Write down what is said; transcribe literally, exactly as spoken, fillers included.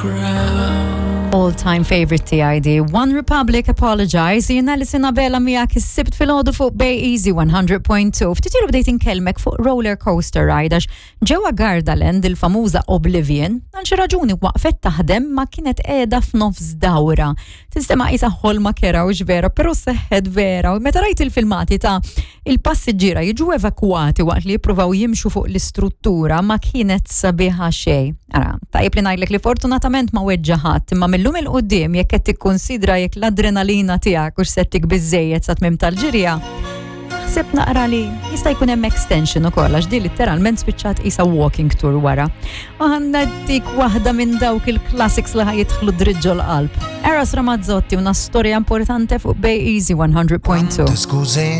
crowd. All-time favorite T I D. One Republic, Apologize. Jiena li sina bela miegħek is-Sibt filgħodu fuq Bay Easy one hundred point two. Ftit ilu bdejt inkellmek fuq roller coaster ride għax ġewwa Gardaland il-famuża Oblivion għal xi raġuni waqfet taħdem ma kienet qiegħda f'nofs dawra. Tinstema' qisha ħolma kerha u vera, però seħħet vera. U meta rajt il-filmati ta' il-passiġġiera jiġu evakuati waqt li jippruvaw jimxu fuq l-istruttura, ma kienet sabiħa xejn. Ara, tajjeb li ngħidlek li fortunatament ma weġġa ħadd, imma millum 'il quddiem jekk qed tikkonsidra jekk l-adrenalina tiegħek hux se ttik biżejjed sa tmiem tal-ġirja, ħseb naqra li jista' jkun hemm extension ukoll għax di litteralment spiċċat qisha walking tour wara. U ħa ntik waħda minn dawk il-classics li ħa jidħlu dritt ġol-qalb. Eros Ramazzotti, Una storia importante, fuq Bay Easy one hundred point two. Quante scuse.